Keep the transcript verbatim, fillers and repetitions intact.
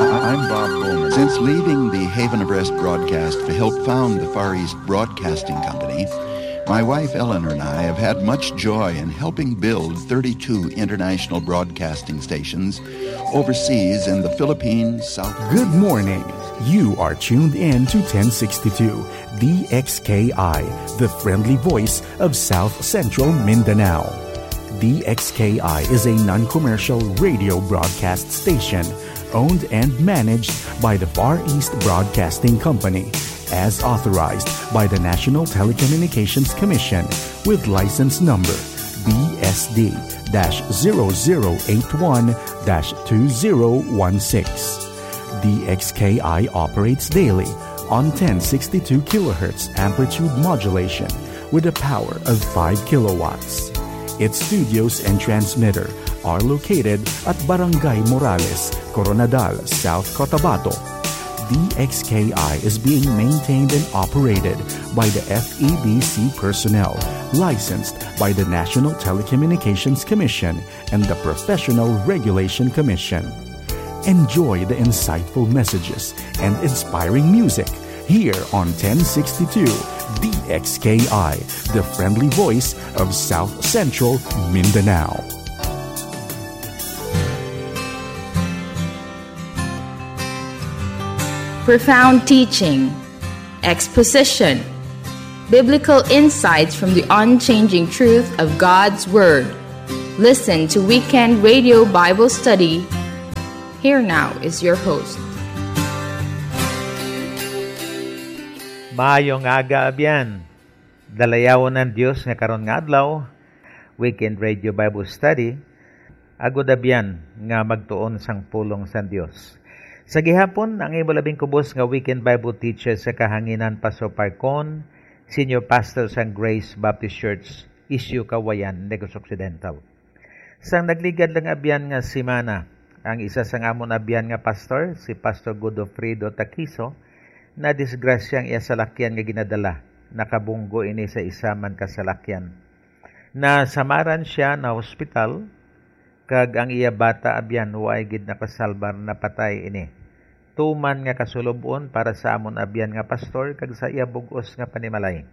I'm Bob Bowman. Since leaving the Haven of Rest broadcast to help found the Far East Broadcasting Company, my wife Eleanor and I have had much joy in helping build thirty-two international broadcasting stations overseas in the Philippines, South Good morning. You are tuned in to ten sixty-two D X K I, the friendly voice of South Central Mindanao. D X K I is a non-commercial radio broadcast station owned and managed by the Far East Broadcasting Company, as authorized by the National Telecommunications Commission, with license number B S D dash zero zero eight one dash two zero one six. D X K I operates daily on ten sixty-two kilohertz amplitude modulation with a power of five kilowatts. Its studios and transmitter are located at Barangay Morales, Coronadal, South Cotabato. D X K I is being maintained and operated by the F E B C personnel, licensed by the National Telecommunications Commission and the Professional Regulation Commission. Enjoy the insightful messages and inspiring music here on ten sixty-two D X K I, the friendly voice of South Central Mindanao. Profound teaching, exposition, biblical insights from the unchanging truth of God's Word. Listen to Weekend Radio Bible Study. Here now is your host. Maayong aga, abyan. Dalayawon ang Dios nga karon nga adlaw, Weekend Radio Bible Study, agod abyan nga magtuon sang pulong sang Dios. Sa gihapon, ang imo labing kubos nga Weekend Bible Teacher sa kahanginan, Pastor Parcon, Senior Pastor sang Grace Baptist Church, Isyu, Cauayan, Negros Occidental. Sang nagligad lang abyan nga semana, ang isa sang amon abyan nga pastor, si Pastor Godofredo Taquizo, nadisgrasya ang iya salakyan nga ginadala. Nakabunggo ini sa isa man ka salakyan. Nasamaran sia na hospital, kag ang iya bata abyan waay gid nakasalbar, napatay ini. Tuman nga kasulub-on para sa amon abyan nga pastor kag sa iya bug-os nga panimalay.